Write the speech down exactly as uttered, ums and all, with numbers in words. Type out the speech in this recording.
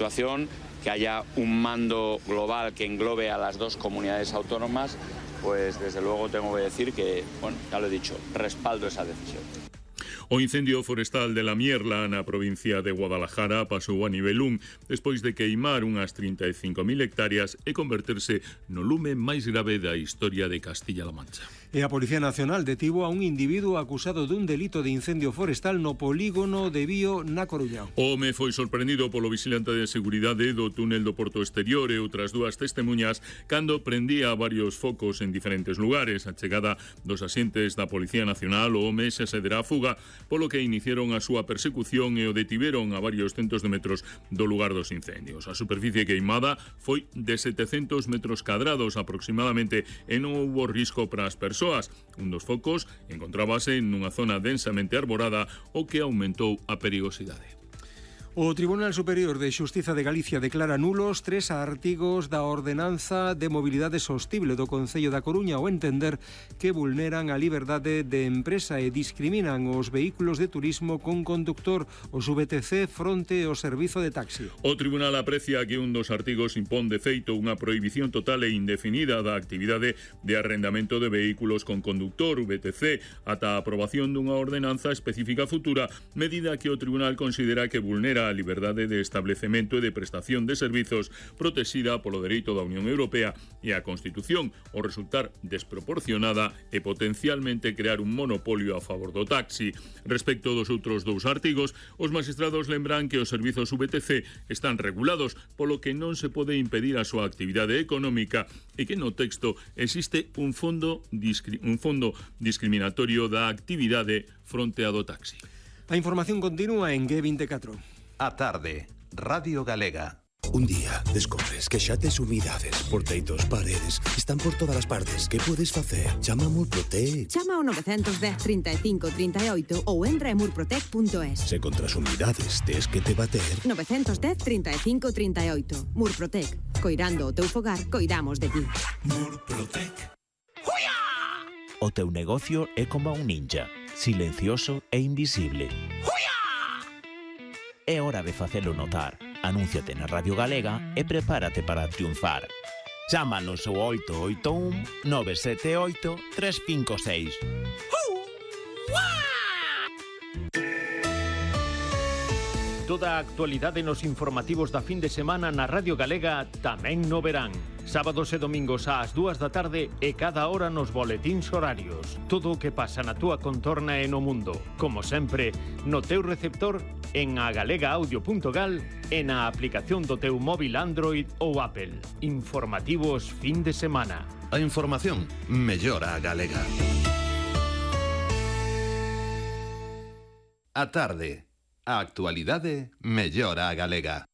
situación, que haya un mando global que englobe a las dos comunidades autónomas, pues desde luego tengo que decir que, bueno, ya lo he dicho, respaldo esa decisión. O incendio forestal de la Mierla na provincia de Guadalajara pasou a nivel un despois de queimar unhas trinta e cinco mil hectáreas e converterse no lume máis grave da historia de Castilla-La Mancha. E a Policía Nacional detivo a un individuo acusado dun delito de incendio forestal no polígono de Bío na Coruña. O home foi sorprendido polo vigilante de seguridade do túnel do Porto Exterior e outras dúas testemunhas cando prendía varios focos en diferentes lugares. A chegada dos axentes da Policía Nacional, o home xa se derá a fuga, polo que iniciaron a súa persecución e o detiveron a varios centos de metros do lugar dos incendios. A superficie queimada foi de setecentos metros cadrados aproximadamente e non houbo risco para as persoas. Un dos focos encontrábase nunha zona densamente arborada, o que aumentou a perigosidade. O Tribunal Superior de Xustiza de Galicia declara nulos tres artigos da Ordenanza de Mobilidade Sostible do Concello da Coruña ao entender que vulneran a liberdade de empresa e discriminan os vehículos de turismo con conductor, os V T C, fronte ao servizo de taxi. O Tribunal aprecia que un dos artigos impón de feito unha prohibición total e indefinida da actividade de arrendamento de vehículos con conductor, V T C, ata a aprobación dunha ordenanza específica futura, medida que o Tribunal considera que vulnera a liberdade de establecemento e de prestación de servizos protexida polo dereito da Unión Europea e a Constitución, ao resultar desproporcionada e potencialmente crear un monopolio a favor do taxi. Respecto dos outros dous artigos, os magistrados lembran que os servizos V T C están regulados, polo que non se pode impedir a súa actividade económica e que no texto existe un fondo, discri- un fondo discriminatorio da actividade fronte a do taxi. A información continúa en G veinticuatro. A tarde, Radio Galega. Un día descobres que xa tes humidades por teitos, paredes, están por todas as partes. Que podes facer? Chama a Murprotec. Chama ao nove un cero, trinta e cinco, trinta e oito ou entra en murprotec punto es. Se contra as humidades tes que te bater. nove un cero, trinta e cinco, trinta e oito. Murprotec. Coirando o teu fogar, coidamos de ti. Murprotec. O teu negocio é como un ninja, silencioso e invisible. É hora de facelo notar. Anúnciate na Radio Galega e prepárate para triunfar. Chámanos ao oito oito un, nove sete oito, tres cinco seis. Toda a actualidade nos informativos da fin de semana na Radio Galega tamén no verán. Sábados e domingos ás dúas da tarde e cada hora nos boletíns horarios. Todo o que pasa na túa contorna e no mundo. Como sempre, no teu receptor, en agalegaaudio punto gal e na aplicación do teu móvil Android ou Apple. Informativos fin de semana. A información mellora a galega. A tarde, a actualidade mellora a galega.